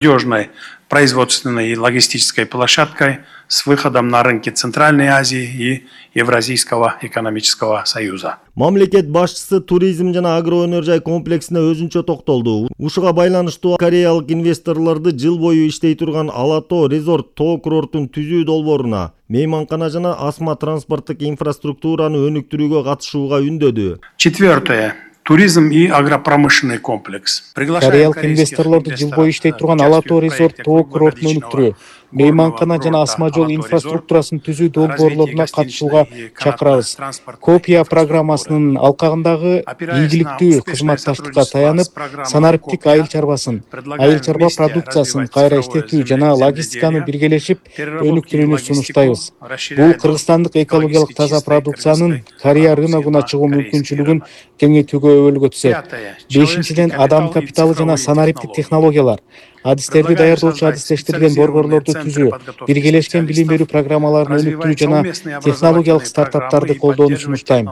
надежной производственной и логистической площадкой с выходом на рынки Центральной Азии и Евразийского экономического союза. Мамлекет башчысы туризм жана агроөнөр жай комплексине өзүнчө токтолду. Ушуга байланыштуу кореялык инвесторлорду жыл бою иштей турган Ала-Тоо резорт тоо курортун түзүү долбооруна, мейманкана жана асма транспорттук инфраструктураны өнүктүрүүгө катышууга үндөдү. Четвертое. Туризм и агропромышленный комплекс. Кореялык инвесторлорду жыл бою иштей турган Ала-Тоо резорт тоо курортун өнүктүрүү, мейманкана жана асма жол инфраструктурасын түзүү долбоорлоруна катышууга чакырабыз. Копия программасынын алкагындагы ийгиликтүү кызматташтыкка таянып, санариптик айыл чарбасын, айыл чарба продукциясын кайра иштетүү жана логистиканы биргелешип өнүктүрүүнү сунуштайбыз. Бул кыргызстандык экологиялык таза продукциянын Корея рыногуна чыгуу мүмкүнчүлүгүн кеңейтүүгө өбөлгө түзөт. Бешинчиден, адам капиталы жана санариптик технологиялар, адистерди даярдоочу адистештирилген борборлорду түзүү, биргелешкен билим берүү программаларын өнүктүрүү жана технологиялык стартаптарды колдоону сунуштайм.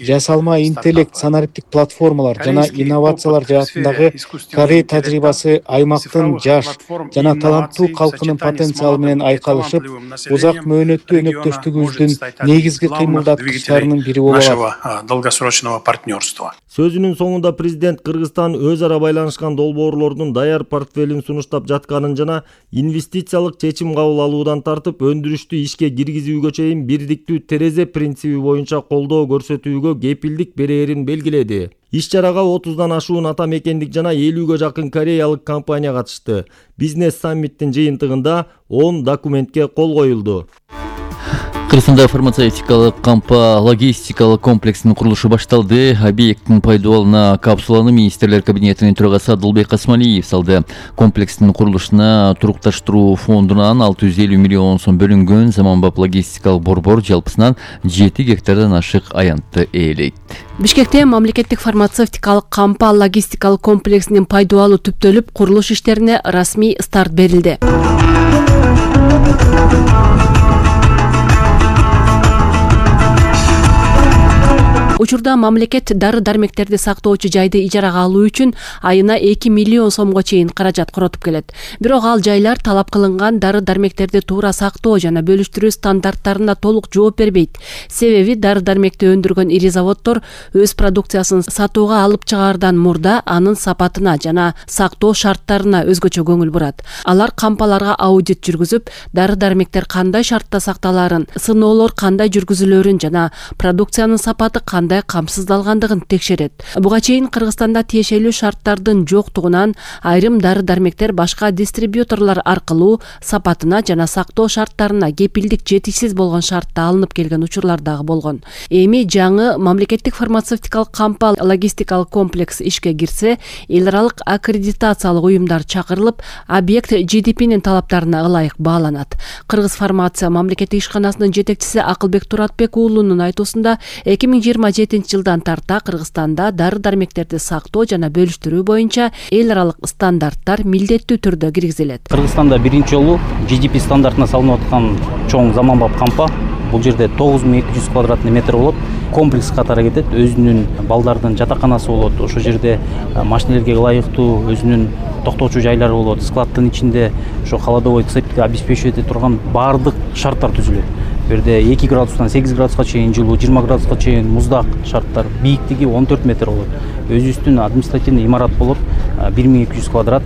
Жасалма интеллект, санариптик платформалар жана инновациялар жаатындагы Корея тажрыйбасы аймактын жаш жана таланттуу калкынын потенциалы менен айкалышып, узак мөөнөттүү өнөктөштүгүбүздүн негизги кыймылдаткычтарынын бири боло алат. Долгосрочного партнерства. Сөзүнүн соңунда президент Кыргызстан өз ара байланышкан долбоорлордун даяр портфелин сунуштап жатканын жана инвестициялык чечим кабыл алуудан тартып өндүрүштү ишке киргизүүгө чейин бирдиктүү терезе принциби боюнча колдоо көрсөтүүгө кепилдик берээрин белгиледи. Иш-чарага 30дан ашуун ата мекендик жана 50ге жакын кореялык компания катышты. Бизнес саммиттин жыйынтыгында 10 документке кол коюлду. Кыргызстанда фармацевтикалык кампа логистикалык комплексинин курулушу башталды. Объекттин пайдаланууна капсуланы министрлер кабинетинин төрагасы Адылбек Асмалиев салды. Комплекстин курулушуна турукташтыруу фондунан 650 миллион сом бөлүнгөн. Заманбап логистикалык борбор жалпысынан 7 гектардан ашык аянтты ээлейт. Бишкекте мамлекеттик фармацевтикалык кампа логистикалык комплексинин пайдалануу түптөлүп, курулуш иштерине расмий старт берилди. Учурда мамлекет дары-дармектерди сактоочу жайды ижарага алуу үчүн айына 2 миллион сомго чейин каражат коротуп келет. Бирок ал жайлар талап кылынган дары-дармектерди туура сактоо жана бөлүштүрүү стандарттарына толук жооп бербейт. Себеби дары-дармекти өндүргөн ири заводдор өз продукциясын сатууга алып чыгаардан мурда анын сапатына жана сактоо шарттарына өзгөчө көңүл бурат. Алар кампаларга аудит жүргүзүп, дары-дармектер кандай шартта сакталаарын, сыноолор кандай жүргүзүлөрүн жана продукциянын сапаты кандай камсыздалгандыгын текшерет. Буга чейин Кыргызстанда тиешелүү шарттардын жоктугунан айрым дары-дармектер башка дистрибьюторлор аркылуу сапатына жана сактоо шарттарына кепилдик жетишсиз болгон шартта алынып келген учурлар дагы болгон. Эми жаңы мамлекеттик фармацевтикалык кампа логистикалык комплекс ишке кирсе, эл аралык аккредитациялык уюмдар чакырылып, объект GDP'нин талаптарына ылайык бааланат. Кыргыз фармация мамлекеттик ишканасынын жетекчиси Акылбек Туратбек уулунун айтуусунда 2027 жылдан тарта Кыргызстанда дары-дармектерди сактоо жана бөлүштүрүү боюнча эл аралык стандарттар милдеттүү түрдө киргизилет. Кыргызстанда биринчи жолу GDP стандартына салынып аткан чоң заманбап кампа. Бул жерде 9200 квадратный метр болот. Комплекс катары кетет. Өзүнүн балдардын жатаканасы болот. Ошол жерде машинелерге ылайыктуу өзүнүн токтоочу жайлары болот. Складдын ичинде ошо холодовой цепти обеспечивать эте турган баардык шарттар түзүлөт. Бу жерде 2 градустан 8 градуска чейин жылуу, 20 градуска чейин муздак шарттар, бийиктиги 14 метр болот. Өзүбүздүн административный имарат болот, 1200 квадрат.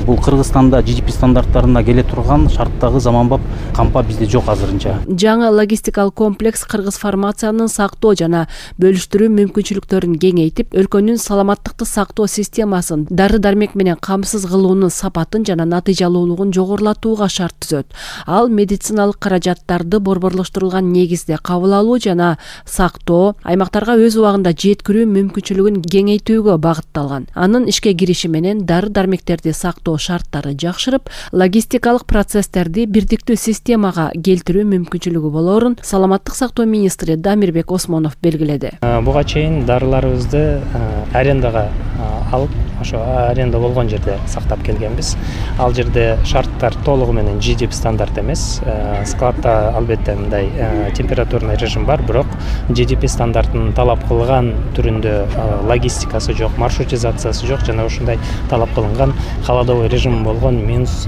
Бул Кыргызстанда GDP стандарттарына келе турган шарттагы заманбап кампа бизде жок азырынча. Жаңы логистикалык комплекс Кыргыз фармациянын сактоо жана бөлүштүрүү мүмкүнчүлүктөрүн кеңейтип, өлкөнүн саламаттыкты сактоо системасын, дары-дармек менен камсыз кылуунун сапатын жана натыйжалуулугун жогорулатууга шарт түзөт. Ал медициналык каражаттарды борборлоштурулган негизде кабыл алуу жана сактоо, аймактарга өз убагында жеткирүү мүмкүнчүлүгүн кеңейтүүгө багытталган. Анын ишке кириши менен дары-дармектерди сактоо шарттары жакшырып, логистикалык процесстерди бирдиктүү системага келтирүү мүмкүнчүлүгү болоорун саламаттык сактоо министри Дамирбек Осмонов белгиледи. Буга чейин дарыларыбызды арендага алып ошо аренда болгон жерде сактап келгенбиз. Ал жерде шарттар толугу менен GDP стандарт эмес. Складта албетте мындай температурный режим бар, бирок GDP стандартын талап кылган түрүндө логистикасы жок, маршрутизациясы жок жана ушундай талап кылынган холодовой режим болгон